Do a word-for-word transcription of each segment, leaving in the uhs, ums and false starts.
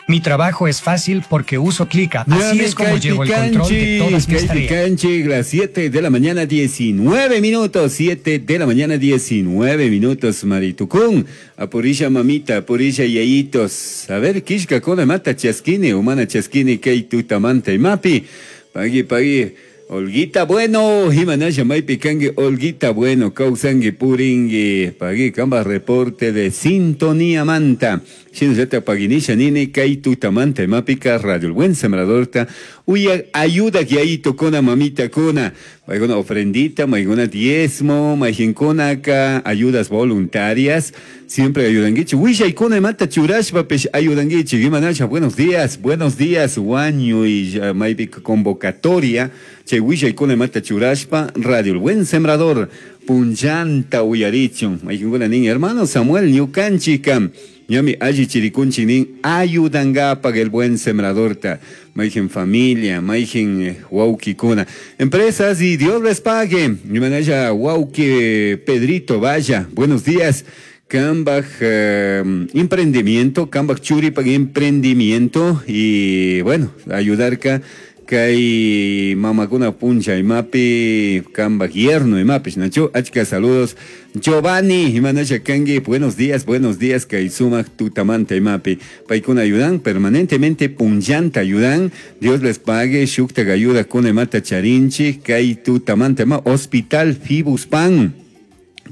Mi trabajo es fácil porque uso ClickUp. Así es como llevo el control de todas mis tareas. Las siete de la mañana, diecinueve minutos. siete de la mañana, diecinueve minutos, Maritucún. Apurisha mamita, apurisha yayitos. A ver, kishka kona mata chaskini, humana chaskini, kay tutamanta imapi. Pagui, pagui. Olguita Bueno, Jimanaya Maipi kangi, Olguita Bueno, Kausangi Puringui, pagui, kamba reporte de sintonía manta. Shinzeta paginisha nini, kay tutamanta imapika, Radio El Buen Sembradorta, uya ayuda que ahí tocona mamita cona, maigona ofrendita, maigona diezmo, maijincona acá, ayudas voluntarias, siempre ayudan guichi, huilla y cona mata churashpa pesh ayudan guichi, Jimanaya, buenos días, buenos días, guaño y maipika convocatoria, che huilla y cona mata churashpa, Radio El Buen Sembrador, punchanta uyarichun, maijincona niña, hermano Samuel Ñucanchica, ñami alli chirikunchi nin ayudangapag el buen sembradorta, maijen familia, maijen wauquicuna, empresas y Dios les pague. Mi manaya wauqui Pedrito, vaya, buenos días. Cambaj eh, emprendimiento, Cambaj Churipag emprendimiento y bueno, ayudar ka kay mamakuna puncha imapi kambaj yerno imapi nacho achka saludos Giovanni imanasha kangi, buenos días, buenos días kay sumak tutamanta imapi paykuna ayudan permanentemente punllanta ayudan, Dios les pague shukta ayuda con imata charinchi kay tutamanta ima hospital Fibuspan.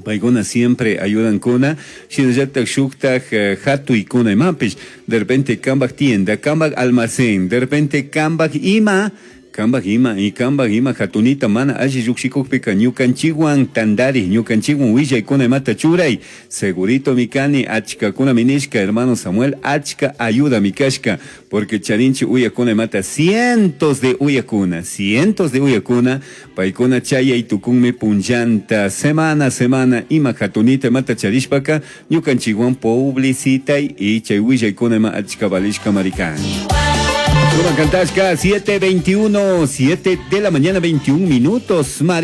Paykuna siempre ayudan kuna, shinallatak shuktak hatuy kuna imapish, de repente kambaj tienda, kambaj almacén, de repente kambaj ima, kambaj ima, y kambaj ima hatunita mana alli lluqshikukpika ñukanchikwan tandari, ñukanchikwan willaykuna imata churay, segurito mikani, achkakuna minishka, hermano Samuel, achka ayuda mikashka, porque charinchi uyakuna imata, cientos de uyakuna, cientos de uyakuna, paykuna chayay tukunmi punllanta, semana, semana, ima hatunita imata charishpaka, ñukanchikwan publicitay y chay willaykuna ima achka valishka marikan. Suma Cantashka, siete veintiuno, siete de la mañana, veintiún minutos, Mari.